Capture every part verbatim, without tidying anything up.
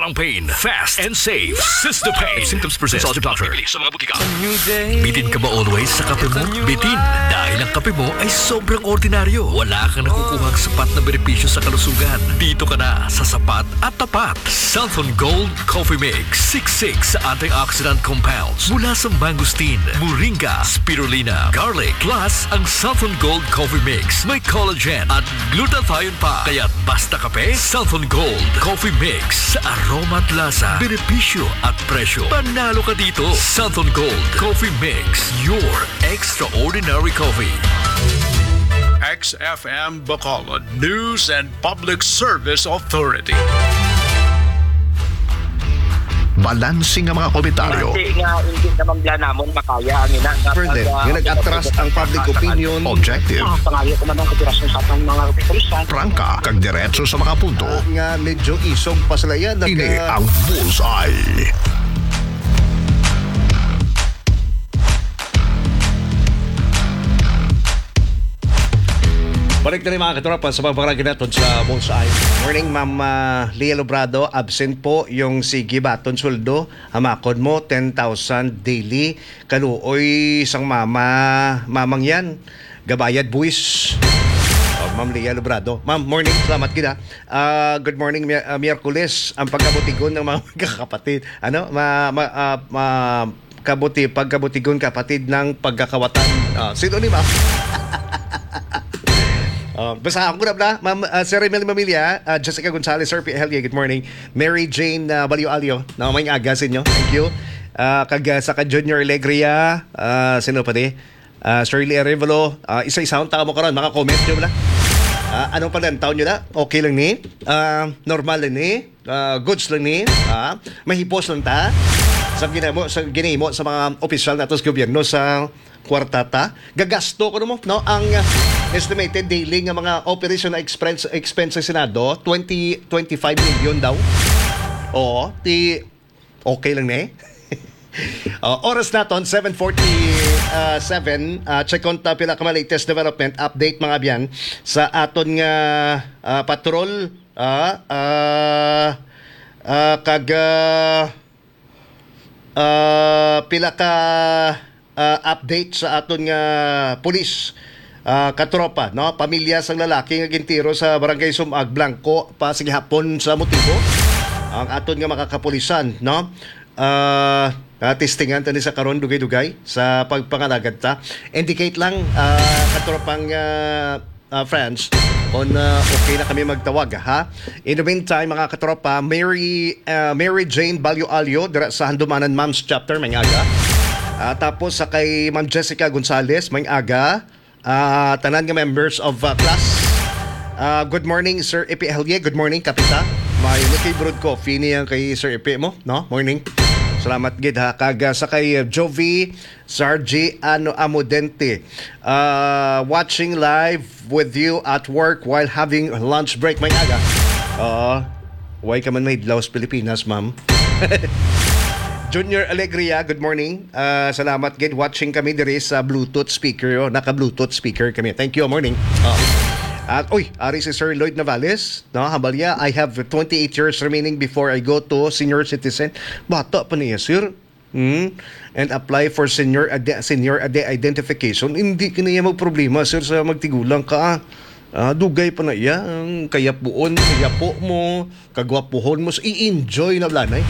Ang pain, fast and safe. Sister Pain. If symptoms persist, consult your doctor. Sa mga butika. Bitin ka ba always sa kape mo? Bitin, dahil ang kape mo ay sobrang ordinaryo. Wala kang nakukuhang sapat na benepisyo sa kalusugan. Dito ka na sa sapat at tapat. Santhon Gold Coffee Mix. Siksik sa antioxidant compounds mula sa mangosteen, moringa, spirulina, garlic. Plus, ang Santhon Gold Coffee Mix may collagen at glutathione pa. Kaya basta kape, Santhon Gold Coffee Mix. Sa aroma at lasa, benepisyo at presyo, panalo ka dito. Santhon Gold Coffee Mix, your extraordinary coffee. X F M Bacolod News and Public Service Authority. Balanse nga mga komentaryo. Base nga hindi naman bala namon makaya ang ina nga Further, pag, ah, nga nag-atras ang public opinion. Objective. Ah, pangayo ko man ang operasyon sa atong mga kapulisan. Prangka, kag diretso sa mga punto. Ah, nga medyo isog pa sila yan. Ini ang Bullseye. Balik na rin, mga katropa, sa pagpangalagad naton sa Bullseye. Morning, Ma'am, ah, Leah Lobrado. Absent po yung sige baton sweldo. Hamakon mo, ten thousand daily. Kaluoy sang mama, mamang yan. Gabayad buwis. Oh, Ma'am Leah Lobrado. Ma'am, morning. Salamat gid, ha. Ah, good morning, Mi-, ah, Miyerkules. Ang pagkabutigon ng mga magkakapatid. Ano? Ma, ma, ah, ma, kabuti, pagkabutigon kapatid ng pagkakawatan. Ah, sino ni Ma'am? Ah, basta ako na bala, Ma'am, ah, Sir Emil Mamilya, ah, Jessica Gonzalez, Sir P L, good morning. Mary Jane, ah, Balyo Alyo, na may aga sa inyo. Thank you. Ah, kag, ah, sa ka Junior Alegria, ah, sino pa di? Ah, Shirley Arevalo, ah, isa-isa ang tao mo karon, maka-comment nyo bala. Ah, anong palantaw nyo na? Okay lang ni? Ah, normal lang ni? Ah, goods lang ni? Ah, mahipos lang ta? Sa ginamo, sa ginimo sa mga opisyal nato sa gobyerno sa kwarta ta? Gagasto ko mo, no? Ang, ah, estimated daily nga mga operation na expense, expense sa Senado, twenty, twenty-five million daw. Oo, ti, okay lang ni? Oh, oras naton, seven forty-seven. Ah, check on ta pila ka mga latest development, update, mga abyan, sa aton nga, ah, patrol, ah, ah, ah, kag, ah, ah, pila ka, ah, update sa aton nga pulis, ah, katropa, no? Pamilya sang lalaki nga gintiro sa Barangay Sumag Blanco pa sa gihapon sa motibo. Ang aton nga makakapulisan, no? Ah, ah, testingan tani sa karon, dugay-dugay sa pagpangalagad ta. Indicate lang, ah, katropang, ah, ah, friends, kung, ah, okay na kami magtawag, ha? In the meantime, mga katropa, Mary, ah, Mary Jane Balyo Alyo, dira sa Handumanan Moms Chapter, may aga. Ah, tapos sa kay Ma'am Jessica Gonzalez, may aga. Ah, tanan nga members of, ah, class. Ah, good morning, Sir Epi Helye. Good morning, Kapita. May Nicky Brewed Coffee niya kay Sir Epi mo, no? Morning. Salamat gid, ha. Kag, ah, sa kay, ah, Jovi Sargi Ano Amodente. Ah, watching live with you at work while having lunch break. May aga. Oo. Why ka man mahidlaw sa Pilipinas, ma'am? Junior Alegria, good morning. Ah, salamat gid. Watching kami diri sa Bluetooth speaker. Oh. Naka-Bluetooth speaker kami. Thank you. Morning. Oh. Ah, uy, ari si Sir Lloyd Navales, no? Hambalya, "I have twenty-eight years remaining before I go to senior citizen." Bata pa niya, sir. Hmm? And apply for senior ide-, senior ide-, identification. Hindi ka niya magproblema, sir, sa magtigulang ka. Ah, dugay pa na iya. Ang kayapuon, kayapo mo, kagwapuhon mo. So, i-enjoy na bala na eh.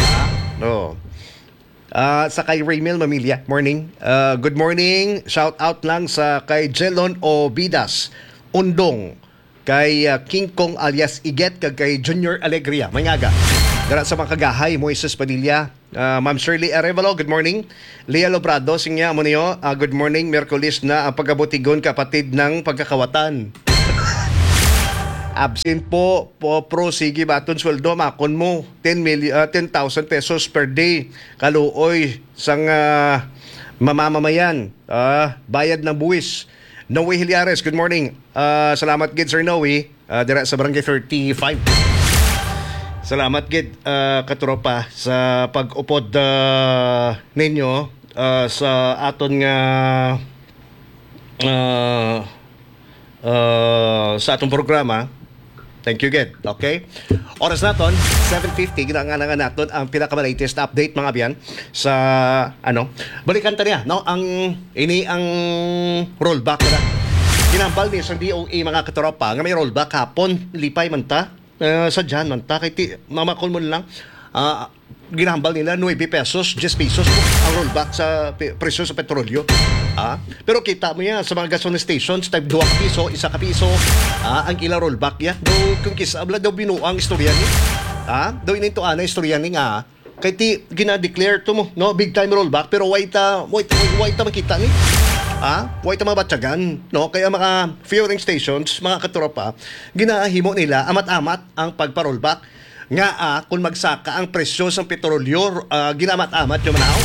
Ah, no. Ah, sa kay Raymel Mamilya, morning. Ah, good morning. Shout out lang sa kay Jelon Obidas Undong, kay, ah, King Kong alias Iget, kag kay Junior Alegria. May aga. Dara sa mga kagahay, Moises Padilla, ah, Ma'am Shirley Arevalo, good morning. Leah Lobrado, singya mo niyo, ah, good morning, Miyerkules na ang pagkabutigon kapatid ng pagkakawatan. Absent po, po, pro, sige, baton sweldo, makon mo, ten million, ah, ten thousand pesos per day. Kaluoy sang, ah, mamamamayan, ah, bayad ng buwis. Noe Hilyares, good morning. Ah, salamat gid, Sir Noe. Ah, dira sa Barangay thirty-five. Salamat gid, ah, katropa, sa pag-upod, ah, ninyo, ah, sa aton nga, ah, ah, sa atong programa. Thank you, Ged. Okay? Oras naton, seven fifty, ginanganangan naton ang pinaka-latest update, mga abyan, sa, ano, balikan ta niya, no? Ang, ini ang rollback na. Ginambal ni sa D O E, mga katropa, nga may rollback hapon, lipay man ta, eh, sa dyan man ta, kay ti, mamakon mo lang, ah, ginahambal nila nuebe pesos, diyes pesos ang rollback sa pi-, presyo sa petrolyo. Ah, pero kita mo yan sa mga gasoline stations, tag dua ka piso, isa ka piso, ah, ang ila rollback ya. Daw kung kisa bala daw binuang istorya ni. Ah, daw inintuan na istorya ni nga kay ti gina-declare to mo, no, big time rollback, pero why ta, why, why, why ta makita ni? Ah, why ta mabatyagan, no? Kaya mga fueling stations, mga katropa, ginahimo nila amat-amat ang pagpa-rollback. Nga, ah, kung magsaka ang presyo sang petrolyo, ah, ginamat-amat nyo man ako.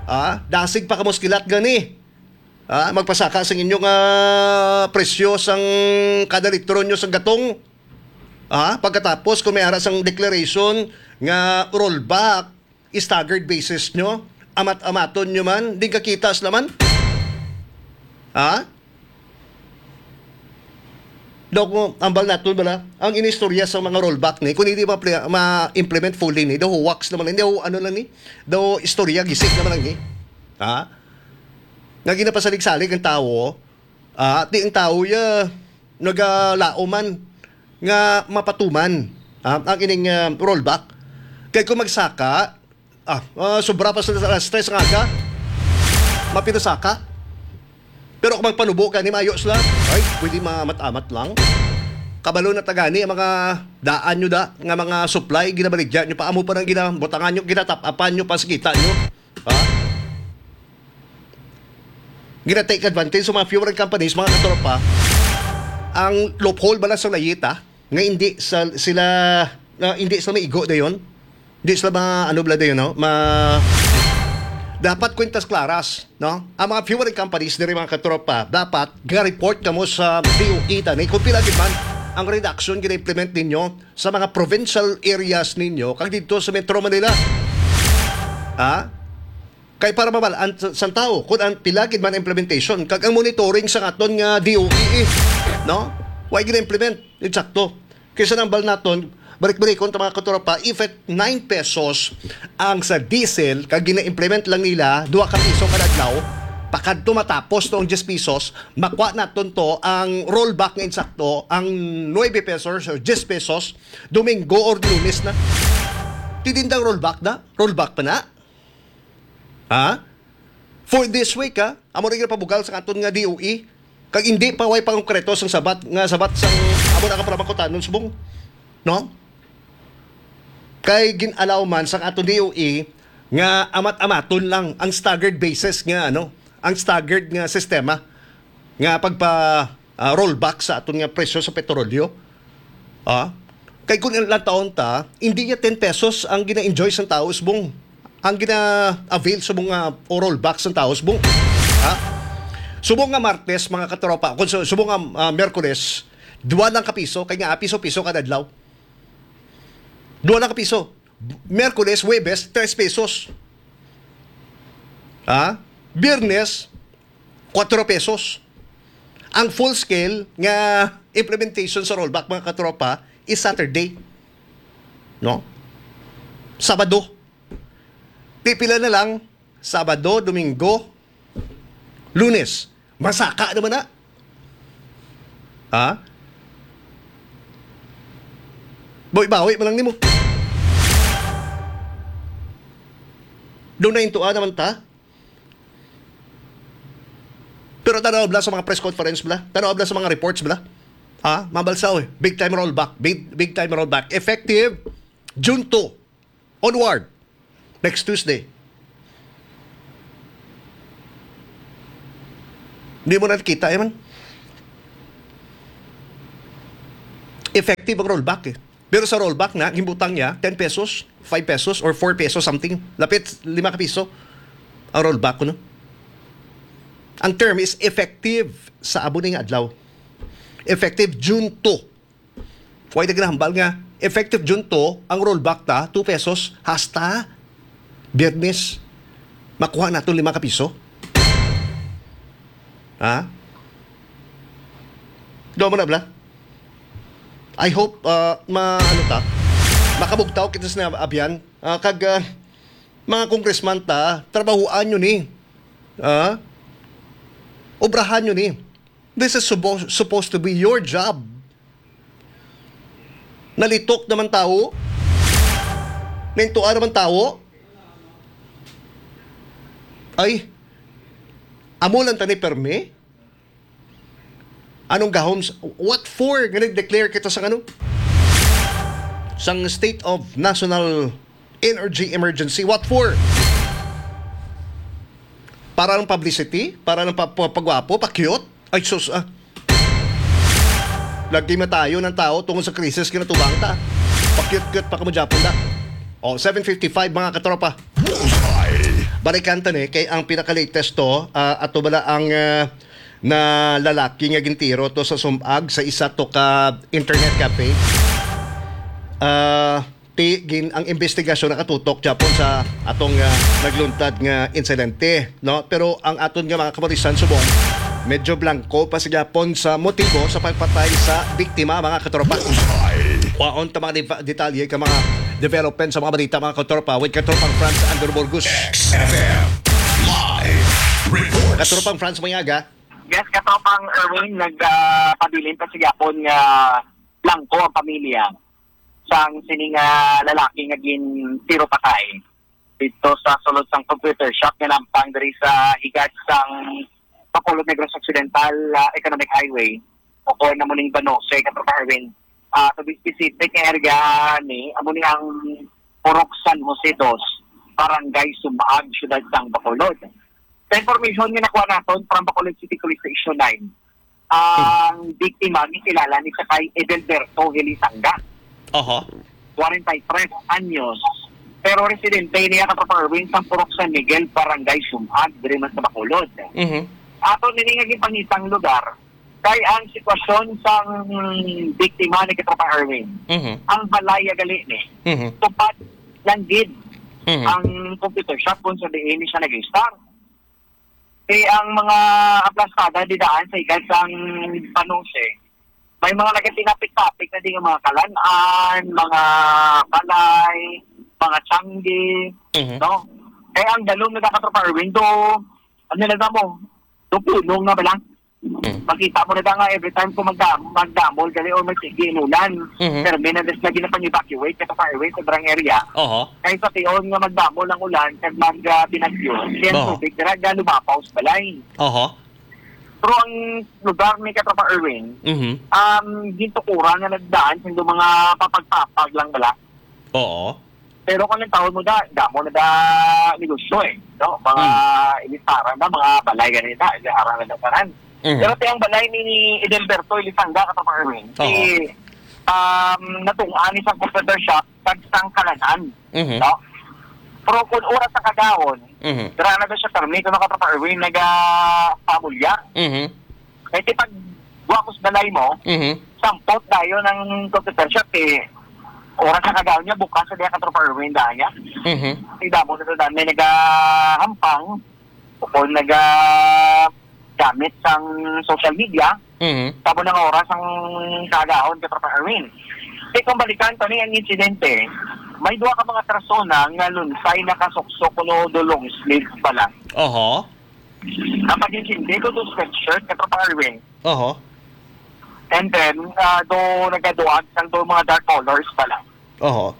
Ah, dasig pa kamo sa kilat gani. Ah, magpasaka sang inyong, ah, presyo sang kada litro nyo sang gatong. Ah, pagkatapos kung may ara sang declaration nga rollback, staggered basis nyo, amat-amaton nyo man, di kakitas naman. Ha? Daw ko, ambal naton bala, ang inistorya sa mga rollback ni, kung hindi ma-, ma-implement fully ni, daw hoax naman, hindi ho, ano lang ni, daw istorya, gisik naman lang ni. Ha? Nga ginapasalig-salig ang tawo, ah, di ang tawo ya, nagalaom man, nga mapatuman, ah, ang ining, ah, rollback. Kay kung magsaka, ah, ah, sobra pa sa alas tres nga aga, mapinasaka. Pero kung magpanubo ka ni mayo sila, ay, pwede maamat-amat lang. Kabalo na tagani ang mga daan nyo da, nga mga supply, ginabaligya nyo pa, amo pa nang ginabutangan nyo, ginatapapan nyo pa sa kita nyo. Ha? Gina-take advantage sa mga fuel companies, mga katropa, ang loophole bala sa layita, nga hindi sa, sila, na hindi sila maigo dayon. Hindi sila ma-, ano bala dayon, no? Ma-, dapat kwintas klaras, no? Ang mga fuel companies diri, mga katropa, dapat ga-report kamo sa D O E tani kung pila gid man ang reduction gina-implement ninyo sa mga provincial areas ninyo kag dito sa Metro Manila. Ha? Kay para mabal-an sa, sa tao kung ang pila gid man implementation kag ang monitoring sa aton nga D O E, eh, no? Wa gina-implement eksakto. Kaysa nang bal naton, balik-balikon ta, mga katropa, if at nine pesos ang sa diesel, kag gina-implement lang nila, dua ka piso kada adlaw, pakadto matapos to ang diyes pesos, makuha naton to ang rollback nga insakto, ang nuebe pesos or diyes pesos, Domingo or Lunes na. Tidindang rollback na? Rollback pa na? Ha? For this week, ha? Amo rin pabugal sa aton nga D O E. Kag hindi pa way pangkreto sang sabat nga sabat sang amo na ka para makutanon subong. No? Kay gin-allow man sang aton D O E nga amat-amaton lang ang staggered basis nga, ano, ang staggered nga sistema nga pagpa, ah, rollback sa aton nga presyo sa petrolyo. Ah? Kay kung ilang taon ta, hindi niya ten pesos ang gina-enjoy sang tao subong. Ang gina-avail subong nga o rollback sang tao subong. Ha? Subong nga Martes, mga katropa, kung su-, subong nga, ah, Miyerkules, dua lang ka piso, kay nga piso-piso kada adlaw. Dua lang ka piso. Miyerkules, Huwebes, tres pesos. Ha? Biyernes, kuwatro pesos. Ang full scale nga implementation sa rollback, mga katropa, is Saturday. No? Sabado. Pipila na lang, Sabado, Domingo, Lunes. Masaka naman na. Ha? Bawi-bawi man lang nimo. Doon na intuan naman ta. Pero tanaw bala sa mga press conference bala. Tanaw bala sa mga reports bala. Ha? Mabalsaw eh. Big time rollback. Big, big time rollback. Effective June two onward. Next Tuesday. Hindi mo na nakita, eh, man. Effective ang rollback, eh. Pero sa rollback na, gimbutang niya, ten pesos, five pesos, or four pesos something. Lapit lima ka piso ang rollback ko, no? Ang term is effective sa abo ni nga adlaw. Effective June two. Way na ginahambal nga effective June two ang rollback ta, two pesos, hasta Biyernes. Makuha nato lima ka piso. Ha? Daw mo na, bla? I hope, ah, ma-, ano ta, makabugtaw kita sa abyan. Ah, kag, ah, mga congressman ta, trabahoan nyo ni. Ah? Obrahan nyo ni. This is supposed, supposed to be your job. Nalitok naman tawo. Naintuan naman tawo. Ay, amo lang tani permi? Anong gahom? s-, What for? Nga nag-declare kita sa ano? Sang state of national energy emergency. What for? Para ng publicity? Para ng pa-, pa-, pagwapo? Pa-cute? Ay, sus, ah. Lagi matayo ng tao tungod sa krisis kinatubang ta. Pa-cute-cute pa kamo Japon da. O, seven fifty-five, mga katropa. Bullseye! Balikan ta ni, kay ang pinaka-latest to, ah, ato bala ang, ah, na lalaki nga gintiro to sa sumag sa isa to ka internet cafe. Ah, ti gin ang investigasyon nakatutok gyapon sa atong, ah, nagluntad nga insidente, no? Pero ang aton nga mga kapulisan subong medyo blanco pa sa gyapon sa motibo sa pagpatay sa biktima, mga katropa. Bullseye! Waon ta mga diva-, detalye ka mga development sa mga balita, mga katropa, with Katropang Franz Andrew Burgos. X F M Live Reports. Katropang Franz, mayada. Yes, Katropang Erwin, nagpabilin pa sa gyapon nga blanco ang pamilya sang sining, ah, lalaki nga gintiro patay dito sa sulod sang computer shop nga nampang diri sa higad sang Bacolod, Negros Occidental, ah, Economic Highway, o kung amo ning Banose, Katropang Erwin. Ah, to be specific, ang area ni, amo ni ang Purok San Jose Dos, Barangay Sumaag, Siyudad sang Bacolod. Sa information nga nakuha naton from Bacolod City Police Station nine, ang biktima gikilala ni sa kay Edelberto Helisanga, Oho. kwarenta y tres anyos, pero residente niya, Katropang Erwin, sa Purok San Miguel, Barangay Sumaag, diri man sa Bacolod. Mhm. Ato nini nga gipangitang lugar kay ang sitwasyon sang biktima ni, Katropang Erwin, Mhm. ang balay gali ni Mhm. tupad lang gid Mhm. ang computer shop kung sa diin siya nag-start. Kay ang mga aplastada didaan sa higad sang Banose, may mga nagatinapit-tapit na di nga mga kalan-an, mga balay, mga tiyanggi, Mhm. no? Kay ang dalom na, Katropang Erwin, do, ano na mo, do punong na ba lang? Mm. Makita mo na da nga every time kung magdam-, magdamol gali or magsigi inulan, Mhm. permi na des lagi na pang-evacuate, Katropang Erwin, sa barang area. Oho. Kay sa tion nga magdamol ang ulan kag mag, ah, binagyo, siya ang Oho. tubig dira ga lumapaw sa balay. Oho. Pero ang lugar ni, Katropang Erwin, Mhm. um, gintukuran nga nagdaan sa mga papagpapag lang bala. Oo. Pero kung ang taon mo da, damo na da negosyo eh, no? Mga Hmm. ilisaran na, mga balay ganito, ilisaran na tanan. Mhm. Pero ti ang balay ni Edelberto Elisanga, Katropang Erwin, Oo. si, um, natungaan ni sang computer shop, kag sang kalan-an, Mhm. no? Pero kung oras sa kagahon, Mhm. dira na daw siya permi, kung, Katropang Erwin, naga-, pamulya. Mhm. Kay ti pag wa ko sa balay mo, Mhm. sampot dayon ang computer shop, eh. Oras sa kagahon niya, bukas sa diya, Katropang Erwin, daan niya. Mhm. Ti damo na to daan may nagahampang, o naga-, gamit sang social media, Mhm. tabo na nga oras ang kagahon, Katropang Erwin. Kay kung balikan pa ni ang insidente, may duha ka mga persona nga lunsay nakasuksok kuno do long sleeve pala. Oho. Ang pag-intindi ko do sweatshirt, Katropang Erwin. Oho. And then, ah, do nagaduag sang do mga dark colors pala. Oho.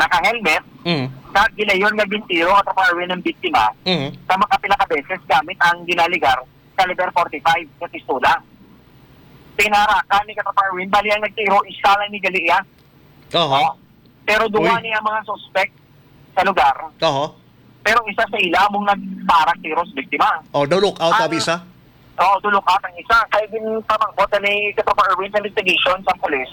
Naka-helmet, Mm. kag gilayon nga gintiro, Katropang Erwin, ang biktima Mhm. sa makapila ka beses gamit ang ginaligar caliber forty-five nga pistola. Pinarakan ni, Katropang Erwin, bali ang nagtiro, isa lang ni gali iya. Oho. Pero duha Uy. niya mga suspect sa lugar. Oho. Pero isa sa ila among nagparak tiro sa biktima. Oh, do look out, Ang abi sa? Oo, do look out ang isa. Kay ginpamangbot na ni Katropang Erwin sa investigation sa pulis.